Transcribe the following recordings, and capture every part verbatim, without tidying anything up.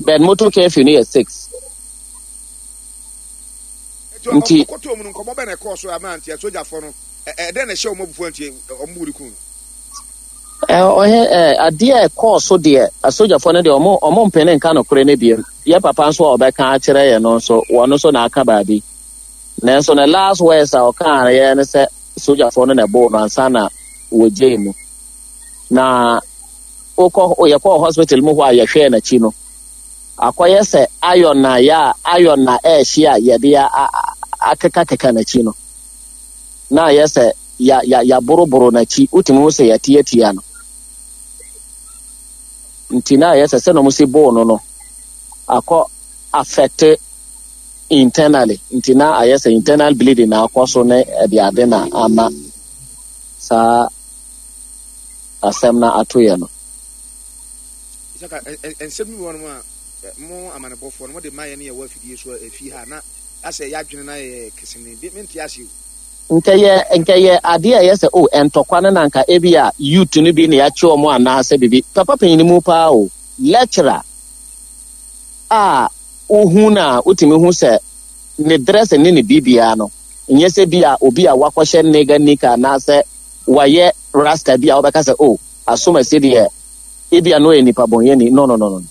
But motor curfew no yɛ six. Nti ɔkɔtɔ mu no, nkɔmɔ bɛ na ɛkɔɔ so ama nti asogyafoɔ no ɛdɛn na ɛhyɛ wɔn abufuo nti ɔmo bu de kun no? Ɔhɛ ɛ adeɛ a ɛkɔɔ so deɛ, asogyafoɔ no deɛ, ɔmo ɔmo mpene nka nokorɛ no biem. Yɛ papa nso a ɔbɛka akyerɛ yɛn no nso, wɔn nso na aka baabi, nanso ne last words a ɔkaa yɛ ne sɛ sogyafoɔ no na ɛbɔɔ no ansa na wɔgyee mu. Na wokɔ, yɛkɔɔ hospital mu hɔ a, yɛhwɛɛ n'akyi no, akɔyɛ sɛ iron na yɛ a iron na ɛɛhye a yɛde akekakeka n'akyi no, na ayɛ sɛ ya ya yɛaboroboro n'akyi. Wotumi ho sɛ yɛtiatia no, nti na ayɛ sɛ sɛ na ɔmo si bɔɔ no no akɔ affect internally, nti na ayɛ sɛ internal bleeding na akɔ so ne ɛde ade na ama saa asɛm na ato yɛ no. Isaka, nsɛm bi wɔ nom a mo amanebɔfoɔ no mode ma yɛ ne yɛwɔ afidie so afie ha na asɛ yɛadwene na yɛ kesene mente ase o. Nkɛyɛ nkɛyɛ adeɛ a ɛyɛ sɛ o ntɔkwa no na nka ebi a youth no bi na yɛakye wɔn anaasɛ bibi. Papa panyin mu paa o, lecturer a wohu na wotumi hu sɛ ne dress ne ne biribiara no nyɛ sɛ bi a obi a wakɔhyɛ nigga nika anaasɛ wayɛ rasta bi a wɔbɛka sɛ o asomasi deɛ, ebi a no yɛ nipa bɔnyɛni. No, no, no, no.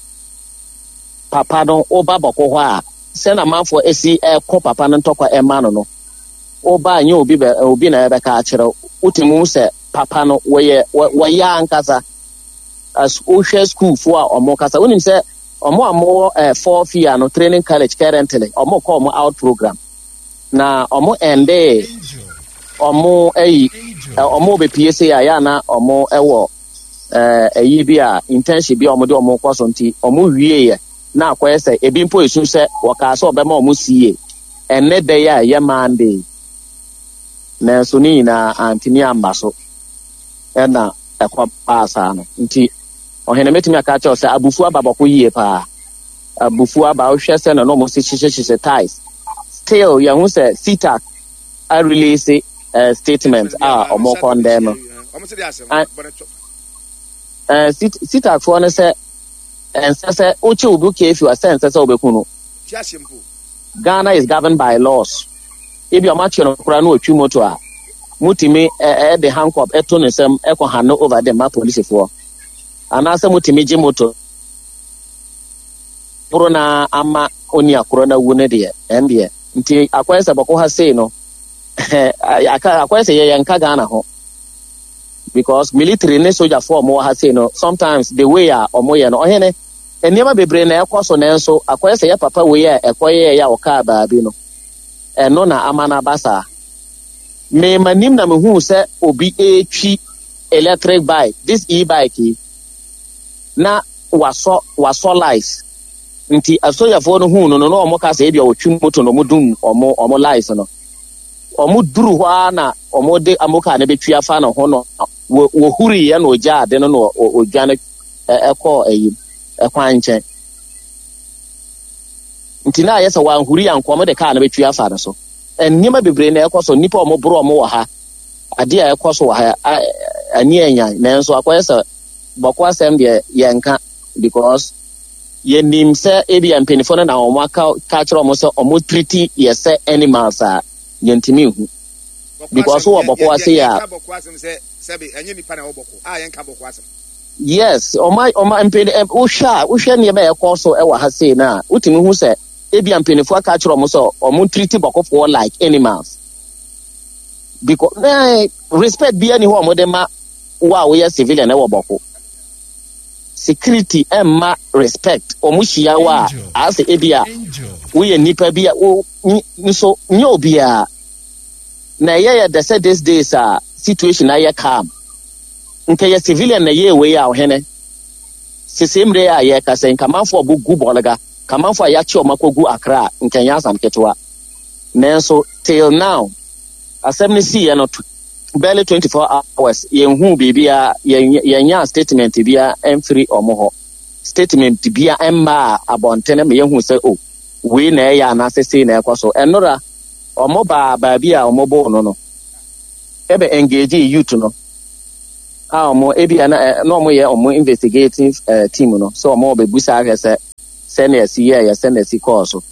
Papa no, woba Bawku hɔ a, sɛ na amanfoɔ esi ɛkɔ papa no ntɔkwa ɛma no no woba nyɛ obi bɛ obi na ɛbɛka akyerɛ. Wotumi hu sɛ papa no wɔyɛ wɔyɛ ankasa. As wohwɛ sukuufoɔ a ɔmo kasa, wonim sɛ ɔmo a mowɔ ɛɛ fourth year no, training college, currently ɔmo kɔ ɔmo out program na ɔmo ɛnde ɔmo ɛyi ɔmo bepie se a yɛ ana ɔmo ɛwɔ ɛɛ ɛyi bi a internship bi a ɔmo de ɔmo kɔ so, nti ɔmo wie yɛ na akɔyɛ sɛ ebi mpo esu sɛ wɔkaa sɛ ɔbɛma ɔmo sie ɛnɛ da yi a ɛyɛ Monday, nanso ne nyinaa antumi amba so ɛna ɛkɔ baa saa no. Nti ɔhene, mɛtumi aka kyerɛw sɛ abufuo aba Bawku yie paa. Abufuo aba. Wohwɛ sɛ na ɔmo si hyehyɛhyehyɛ tyres. Still yɛn ho sɛ CETAG a release uh, statement a ɔmo condemn no. uh, CETAG foɔ no sɛ ɛnsɛ sɛ wokye obi curfew a, sɛ ɛnsɛ sɛ wobɛku no. Ghana is governed by laws. Ebi ɔmo akye no koraa na otwi moto a, mutumi ɛde handcuff ɛto ne nsam ɛkɔ hand over de ma polisifoɔ, anaasɛ mutumi gye moto boro na ama oni akorɔ na wu ne deɛ ɛn deɛ. Nti akɔyɛ sɛ Bawku ha sei no, akɔyɛ sɛ yɛyɛ nka Ghana ho, because military ne sogyafoɔ a ɔmo wɔ ha sei no, sometimes the way a ɔmo yɛ no, ɔhene, nneɛma bebree na ɛkɔ so, nanso akɔyɛ sɛ yɛ papa wei a ɛkɔyɛ yɛ a ɔkaa baabi no, ɛno na ama no aba saa. Mmarima nim na mehu sɛ obi etwi electric bike, this e-bike yi, na wasɔ wasɔ lights, nti asogyafoɔ no hu no no na wɔn ka sɛ ebi a ɔtwi moto na wɔn dum wɔn wɔn lights no. Wɔn duru hɔ ara na wɔn de amoka no betwi afa ne ho no, wɔ wɔhuri yɛ na ogya ade no na odwane ɛkɔɔ ɛyi ɛkwan nkyɛn. Nti na ayɛ sɛ wanhuri ankɔ, wɔn de kaa no betwi afa no so. Nneɛma bebree na ɛkɔ so. Nnipa a wɔn boro wɔn wɔ ha, adeɛ a ɛkɔ so wɔ ha ani ɛnyan, nanso akɔyɛ sɛ Bawku asɛm deɛ yɛnka, because yɛnim sɛ ebi a mpanyinfoɔ no na wɔn aka ka kyerɛ wɔn sɛ wɔn treat yɛ sɛ animals a yɛntumi nhu, because wɔ Bawku ase yɛ a. Yes, ɔma ɔma mpanyinfoɔ wohwɛ a, wohwɛ nneɛma a ɛkɔ so ɛwɔ ha sei na wotumi hu sɛ ebi a mpanyinfoɔ aka kyerɛ wɔn sɛ wɔn treat Bawkufoɔ like animals, because eh, respect bi ani hɔ a wɔde ma wo a woyɛ civilian ɛwɔ Bawku. Security ɛmma respect. Wɔn hyia wo a, asɛ ebi a woyɛ nipa bi a wo nso nyɛ obiara na ɛyɛ yɛ dɛ sɛ these days a situation ayɛ calm. Nka yɛ civilian na yɛ wei a, ɔhene, sese mmerɛ a yɛka sɛ nkamanfoɔ a ɔbɛgu Bɔlga, kamanfoɔ a yɛakye ɔmo akɔgu Akra, nka nyɛ asam ketewa. Nanso till now, asɛm no siiɛ no, barely twenty-four hours, yɛnhu biribiara, yɛnya statement biara mfiri ɔmo hɔ. Statement bia mmaa abɔntene ma yɛhu sɛ o wei na ɛyɛ anaasɛ sei na ɛkɔ so. Ɛnora ɔmo baa baabi a ɔmo bɔɔ no no ɛbɛ engage youth no a ɔmo ebi na na ɔmo yɛ ɔmo investigative uh, team no sɛ ɔmo bɛbusa ahwɛ sɛ sɛ Sɛnea ɛsi yɛɛyɛ, sɛnea ɛsi kɔɔ so.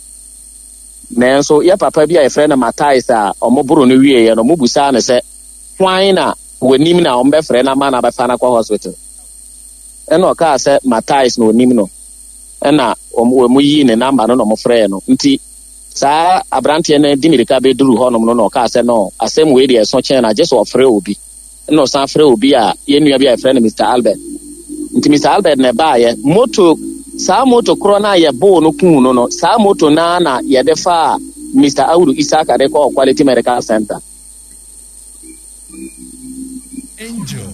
Nanso yɛ papa bi a yɛfrɛ no Matais a ɔmo boro no wieɛ no, ɔmo busaa no sɛ hwan na wɔnim na ɔmo bɛfrɛ no ama no abɛfa no akɔ hospital. Ɛna ɔkaa sɛ Matais na onim no. Ɛna ɔmo ɔmo yii ne number no na ɔmo frɛɛ no. Nti saa aberanteɛ no di mirika bɛduru hɔnom no na ɔkaa sɛ no, asɛm wei deɛ, ɛso kyɛn na gye sɛ ɔfrɛ obi. Ɛna ɔsan frɛ obi a yɛn nua bi a yɛfrɛ no Mister Albert. Nti Mister Albert na ɛbaayɛ moto, saa moto korɔ no a yɛboo no kuu no no, saa moto naa na yɛde faa Mister Awudu Isaka de kɔɔ Quality Medical Center. Angel.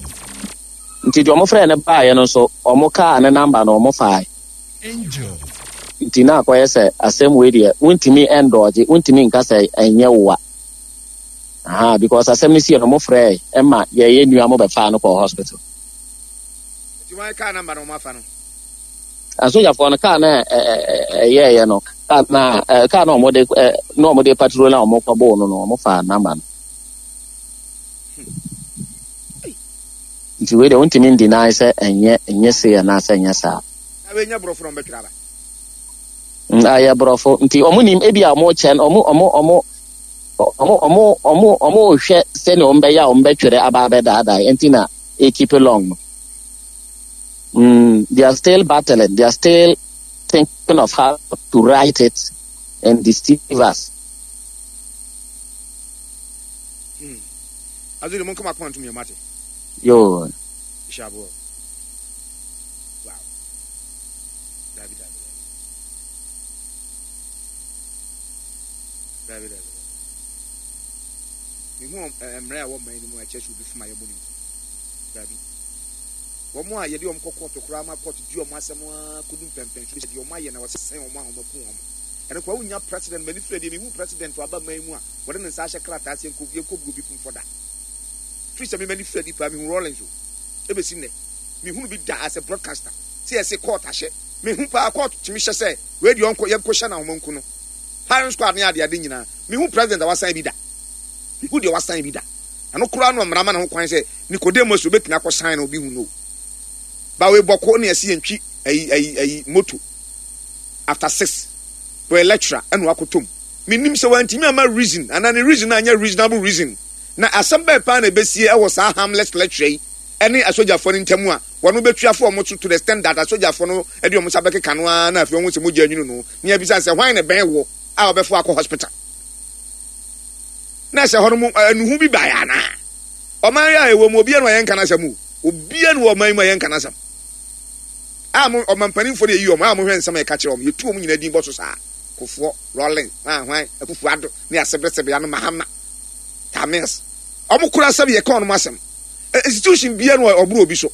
Nti deɛ ɔmo frɛ no baayɛ no nso, ɔmo kaa ne number no, ɔmo fae. Angel. Nti na akɔyɛ sɛ asɛm wei deɛ, wontumi ɛndɔɔgye, wontumi nka sɛ ɛnyɛ wowa aha, because asɛm no sie no, ɔmo frɛ ɛma yɛyɛ nua mo bɛfaa no kɔɔ hospital. Nti wɔn kaa number na wɔn afa no? Asogyafoɔ no kaa na ɛyɛɛyɛ no, kaa na ɛ, kaa na ɔmo de ɛ, na ɔmo de patrol na ɔmo kɔbɔɔ no no, ɔmo fa number no. Nti wei deɛ, wontumi ndeny sɛ ɛnyɛ ɛnyɛ sei anaasɛ ɛnyɛ saa. Na wei nyɛ borɔfo na wɔn bɛtwerɛ aba? Mm, ayɛ borɔfo, nti ɔmo nim ebi a ɔmo kyɛn ɔmo ɔmo ɔmo ɔmo ɔmo ɔmo ɔmo hwɛ sɛnea ɔmo bɛyɛ a ɔmo bɛtwerɛ aba abɛdaadaa, nti na e keep long no. mm, they are still battling, they are still thinking of how to write it and deceive us. Hmm. Azuri mo nkama akoma ntum yɛ mate. Yo. Hyɛ aboɔ. Wow. Dabi, dabi, dabi. Dabi, dabi, dabi. Mehu mmerɛ a ɛwɔ man no mu a ɛkyerɛ sɛ obi fom a yɛbɔ ne nkum. Dabi. Wɔn a yɛde wɔn kɔ kɔɔto koraa ma kɔɔto di wɔn asɛm a kɔdu mpɛmpɛnso bi, deɛ wɔn ayɛ na wɔsɛn wɔn a wɔn aku wɔn. Ɛno koraa wonya president m'ani fira deɛ, mehu president waba man mu a wɔde ne nsa ahyɛ krataa ase yɛnkɔ yɛnkɔ bu obi kumfɔ da. Firi sɛ me m'ani fira di paa, mehu Rawlings o. Ebesi nnɛ, mehunu bi da as a broadcaster sɛ yɛse court ahyɛ. Mehu paa court tumi hyɛ sɛ wei deɛ ɔnkɔ yɛnkɔ hyɛ n'ahoma nku no. Firing squad ne ade ade nyinaa. Mehu president a wasan bi da. Mehu deɛ wasan bi da. Ɛno koraa no, mmara ma ne ho kwan sɛ Nicodemus obetumi akɔ sign na obi hu no. Ba wei bɔkɔ ne yɛsi yɛntwi ayi ayi ayi moto after six. Wɔyɛ lecturer ɛna wakɔtɔ mu. Menim sɛ wantumi ama reason anaa ne reason anyɛ reasonable reason. Na asɛm bɛɛ paa na ebesie ɛwɔ saa harmless lecturer yi ɛne asogyafoɔ no ntam a wɔn bɛtua fo wɔn so to the extent that asogyafoɔ no ɛde wɔn nsa bɛkeka no ara, na afei wɔn sɛ mogya nwunu no ne yɛbisa sɛ hwan na bɛn wɔ a wɔbɛfo akɔ hospital, na sɛ hɔ no mu ɛnuhu bi baeɛ anaa. Ɔman yi a ɛwɔ mu, obiara no a yɛnka n'asɛm o, obiara no wɔ ɔman yi mu a yɛnka n'asɛm a mo ɔman mpanimfoɔ no yɛyi wɔn a mohwɛ nsɛm a yɛka kyerɛ wɔn, yɛtu wɔn nyinaa din bɔ so saa: Kufuor, Rawlings, hwan hwan, Akufo Addo ne asebresebe ano, Mahama, Tamils, wɔn kora asɛm yɛka wɔn asɛm. Institution biara no ɔboro obi so.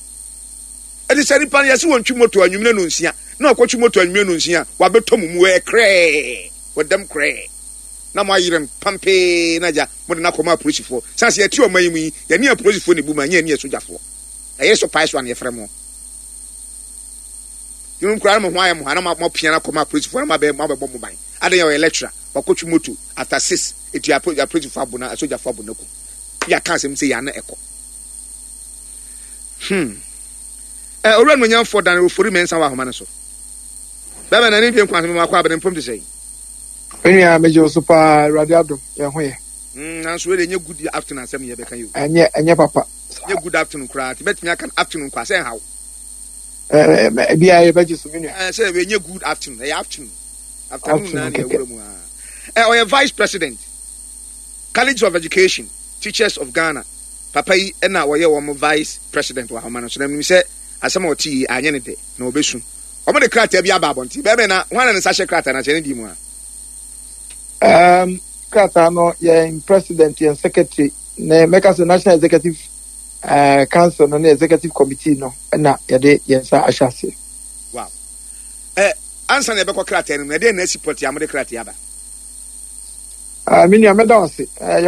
Ɛti sɛ nipa no yɛsi wɔn twi moto anwumire no nsia na ɔkɔtwi moto anwumire no nsia, wabɛtɔ mu mu ɛyɛ krɛɛ, wɔdɛm krɛɛ na mo ayere no pampee na gya mo de n'akɔma apolisifoɔ. Sanni yɛte ɔman yi mu yi, yɛne apolisifoɔ ne bu ma nyɛ ne asogyafoɔ ɛyɛ so pae so a na yɛfrɛ mo yɛn kura mo ho ayɛ mo ha na mo apia n'akɔma apolisifoɔ na mo abɛ mo abɛbɔ mo ban adan yɛ ɔyɛ lecturer, wakɔtwi moto after six, eti apolisifoɔ abo na asogyafoɔ abo n'akum. Yɛaka asɛm sɛ yɛn ano ɛkɔ. hmm ɛ owura no nyamfoɔ Dan Ofori Mɛnsa wɔ ahoma no so. Bɛbɛ na ne mpie nkwa asɛm akɔ abɛn mpom te sɛ yi. Me nua, megye wo so paa. Awurade adom, yɛn ho yɛ. mm nanso wei de, ɛnyɛ good afternoon asɛm yɛ bɛka yi o. Ɛnyɛ ɛnyɛ papa. Ɛnyɛ good afternoon koraa, nti bɛtumi aka no afternoon kɔ asɛ nhaw. Ɛɛ, ebiara yɛbɛgye so, me nua. Ɛɛ, sɛ ɛnyɛ good afternoon, ɛyɛ afternoon, afternoon naa ne ɛwura mu aa. Ɛ ɔyɛ vice president, College of Education Teachers of Ghana. Papa yi ɛna wɔyɛ wɔn vice president wɔ ahoma no so, na menim sɛ asɛm a ɔte yi anyɛ ne dɛ na ɔbɛsu. Wɔn de krataa bi aba abɔnten bɛrɛ na wɔn na ne nsa hyɛ krataa na kyerɛ ne di mu a. Um, krataa no, yɛn president, yɛn secretary ne mɛka sɛ national executive uh, council no ne executive committee no na yɛde yɛn nsa ahyɛ aseɛ. Wow. Ɛ ansa na yɛbɛkɔ krataa no mu, ɛdeɛ na asi pɔte a mode krataa aba? Uh, me nua, mɛda wo ase. Uh, yɛwɔ